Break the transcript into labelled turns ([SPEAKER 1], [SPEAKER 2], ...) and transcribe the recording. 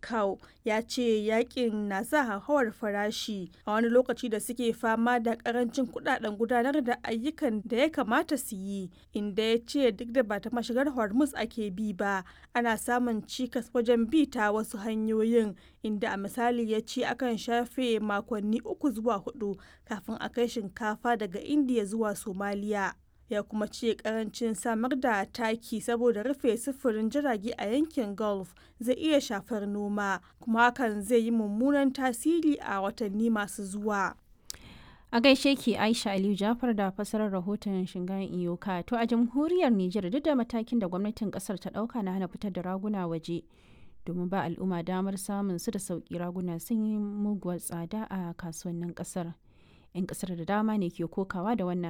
[SPEAKER 1] Cow ya ce yakin na sa hauhawar farashi a wani lokaci da suke fama da karancin kudaden gudanar da ayyukan da ya kamata su yi, inda ya ce duk da ba ta mashigar Hormuz ake bi ba, ana samun cikas wajen bi ta wasu hanyoyin, inda a misali ya ce akan shafe makonni 3 zuwa 4 kafin a kai shinkafa daga Indiya zuwa Somalia. Ya kuma ce karancin samar da taki saboda rufe sufurin jirage a yankin Gulf zai iya shafar noma, kuma hakan zai yi mummunan tasiri a watanni masu zuwa.
[SPEAKER 2] A gaishe ki Aisha Aliyu Jafar da fasarar rahoton Shingayen Iyoka. To a jamhuriyar Nijar, duk da matakin da gwamnatin kasar ta dauka na hana fitar da raguna waje domin ba al'umma damar samun su da sauki, raguna sun yi muguwar tsada a kasuwannin kasar. 'Yan kasar da dama ne ke kokawa da wannan